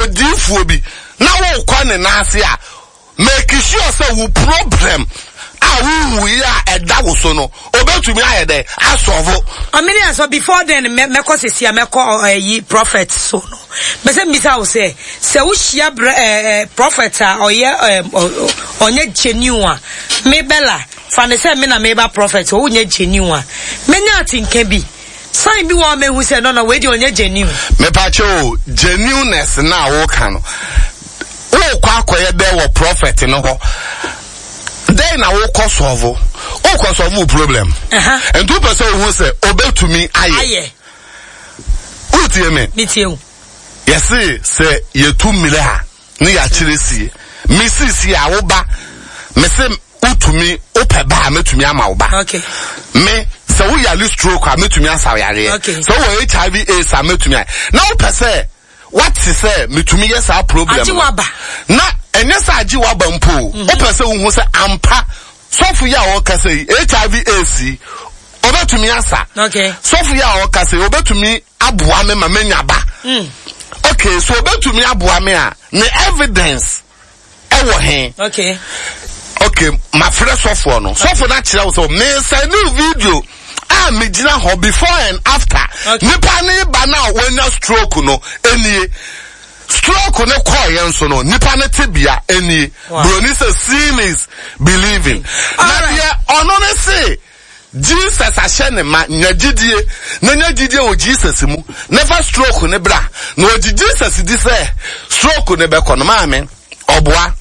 odiifoɔ bi na wokɔ ne nan ase a, make sure sɛ wo problem a wohu yi a ɛda wo so no, obetumi ayɛ dɛ asɔvo. Ɔmene asɔ before then mɛkɔ sisi a mɛkɔ ɛyi prophet so no. Mɛsɛ mbisa wo sɛ sɛ wohyia brɛ ɛɛ prophet a ɔyɛ ɛɛ ɔnyɛ genuine a, me Bella fa ne sɛ me na meba prophet ɔnyɛ genuine a, menya atenka bi. Sign bi wɔ hɔ a mehu sɛ no no wei deɛ ɔnyɛ genuine. Mepakyɛ o, genuineness no a woka no, wokɔ akɔyɛ dɛ wɔ prophet no hɔ, dɛn na wokɔ sɔvo? Wokɔ sɔvo wo problem. Nti wopɛ sɛ wohu sɛ obetumi ayɛ. Wotie me? Metie wo. Yɛse sɛ yɛtu mmerɛ a ne yɛakyerɛ sie. Me sisi a woba, mese wotumi wopɛ ba a mɛtumi ama wo ba. Okay. Me sɛ woyare stroke a mɛtumi asa wo yareɛ. Okay. Sɛ wowɔ HIV AIDS a mɛtumi ayɛ. Na wopɛ sɛ wate sɛ metumi yɛ saa problem Agye no. waba. Na ɛnyɛ sɛ agye waba mpo o. Wopɛ sɛ wohu sɛ ampa sɔfo yi a ɔkasa yi HIV AIDS yi ɔbɛtumi asa. Okay. Sɔfo yi a ɔkasa yi ɔbɛtumi aboa me ma menya ba. Okay, so ɔbɛtumi aboa me a ne evidence ɛwɔ he? Okay. Okay, mafrɛ sɔfoɔ no. Sɔfo no akyerɛ wo sɛ mesɛne wo video a megyina hɔ before and after. Okay. Nipa ne ba no a wanya stroke no nie. Stroke no kɔɔ yɛn so no, nipa ne tebea nie. Wow. Broni sɛ seeing is believing. Na Alright. deɛ ɔno ne se Jesus ahyɛ ne ma, nya gyidie, na nya gyidie wɔ Jesus mu, na fa stroke ne bra. Na ɔgye Jesus di sɛ stroke ne bɛkɔ no, maame, ɔboa.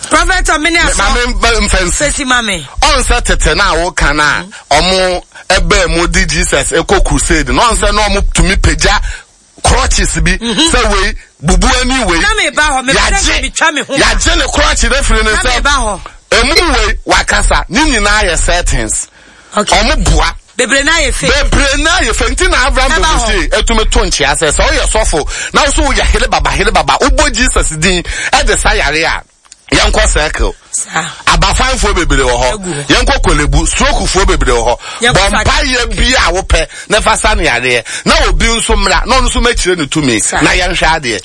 Prophet Omene Aso. Maame mfa nsi. Fesi mame. Ɔnsɛ tete na awoka na ɔmo ɛbɛɛ mu di Jesus ɛkɔ crusade na ɔnsɛ na ɔmo tumi pagya crutches bi sɛ wei bubu ani wei. Na me ba hɔ, me pɛ sɛ me twa me ho. Yagye ne crutch ne firi ne Na me ba nsam. hɔ. Emu wei wakasa ne nyinaa yɛ settings. Okay. Ɔmo boa. Bebree na yɛ fake. Bebree na yɛ fɛ nti na Abraham Ɛba hɔ. Dogosie etumi to nkyea sɛ sɛ ɔyɛ sɔfo na nso woyɛ hele baba hele baba wobɔ Jesus din ɛde sa yare a yɛnkɔ circle. Abafanfoɔ bebree wɔ hɔ. Yɛnkɔ Korle-Bu strokefoɔ bebree wɔ hɔ. Bɔ mpaeɛ bi a wopɛ na fa sa no yareɛ na obi nso mmra na ɔno nso mɛkyerɛ ne tumi na yɛnhwɛ adeɛ.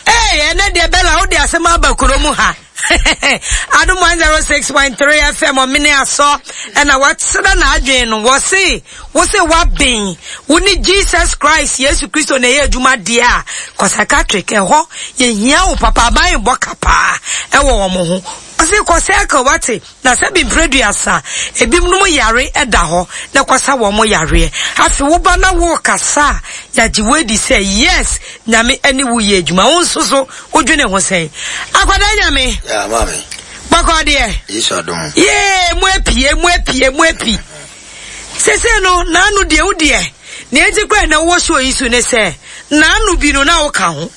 Ee, ɛnɛ deɛ Bella wode asɛm aba kuro mu ha. Adom 106.3 FM ɔmene asɔ ɛna wakyerɛ n'adwene no wɔse wo se waben wo ne Jesus Christ Yesu Kristo na ɛyɛ adwuma deɛ a kɔ psychiatric ɛhɔ yɛhia wo papa aban bɔ ka paa ɛwɔ wɔn ho ɔse kɔ circle wate na sɛ bi mprɛduasa ebinom nom yare ɛda hɔ na kɔsa wɔn yareɛ afe wo ba na wo kasa a yɛagye wo adi sɛ yes Nyame ɛne wo yɛ adwuma wo nso so wodwene ho sɛn akwadaa Nyame Yeah, maame. bɔkɔ deɛ Yesu adom. yee mu apie mu apie mu api sese no naanu deɛ wo deɛ nea enti kora na wowɔ show yi so ne sɛ naanu bi no na woka ho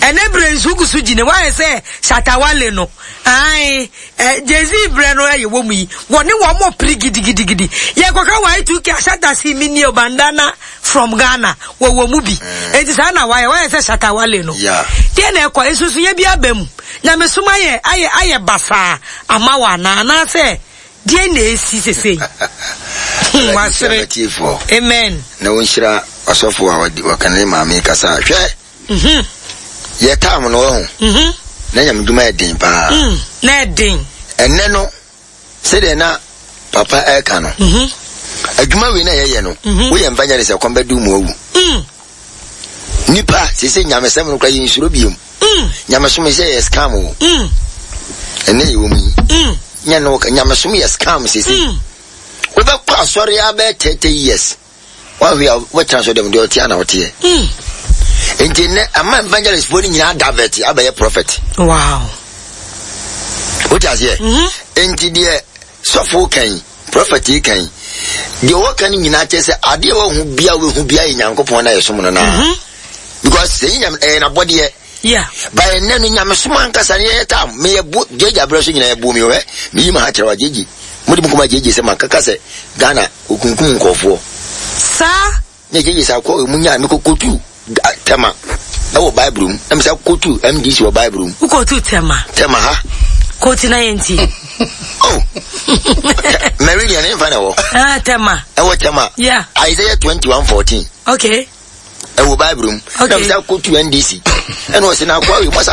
ɛnɛ berɛ nso wogu so gyina woayɛ sɛ shatawale no ae Jay-Z berɛ no ɛyɛ wɔ mu yi wɔne wɔn mo pere gidigidigidi yɛkɔka Y2K ashata si mi nie bandana from Ghana wɔwɔ mu bi enti saa na wayɛ wayɛ sɛ shatawale no deɛ na ɛkɔ nsusunyɛ bi aba mu nyamesom ayɛ ayɛ ayɛ basaa ama wɔ anaa anaasɛ deɛ na esi sesei wasere amen na wɔnhyira ɔsɔfo a wɔka ne maame kasa hwɛ yɛ tam no wahu na nyamedwuma yɛ den paa na ɛden ɛnɛ no sɛdeɛ na papa ɛka no adwuma wei na yɛyɛ no woyɛ evangelist ɛkɔm bɛdu mu awu nipa sɛ nyamesɛm no kora yɛnsuro biom nyamesom sɛ yɛ scam o ɛnɛ yɛwɔ mu yi nyɛ no nyamesom yɛ scam sese wobɛkɔ asɔre abɛɛ 30 years wahwe a wobɛtena so dɛm deɛ ɔteɛ na woteɛ nti nnɛ ama evangelist foɔ no nyinaa divert abɛyɛ prophet wow wote aseɛ nti deɛ sɔfo kan prophet yi kan deɛ wɔka no nyinaa kyerɛ sɛ adeɛ a wɔhu bia wɔhu bia yɛ nyankopɔn na yɛsom no naa because sɛ yi nyame ɛyɛ n'abɔdeɛ Yeah. Ba ɛnɛ no nyamesom ankasa no yɛyɛ tam meyɛ bo gyegye aberɛ so nyinaa yɛbuo mi hwɛ meyi ma ha kyerɛ wa gyegye mode mu kɔma gyegye sɛ makaka sɛ Ghana okunkum nkɔɔfoɔ saa ne gyegye sɛ akɔ emu nyaa mekɔkɔtu tɛma ɛwɔ bible mu na mesa kɔtu MDC wɔ bible mu wokɔtu tɛma tɛma ha kɔti na yɛnti oh meridian ne mfa na ɛwɔ ah, tɛma ɛwɔ tɛma yeah. Isaiah 21:14 okay ɛwɔ bible mu na mesa kɔtu NDC ɛna ɔsɛ na akɔ awie masa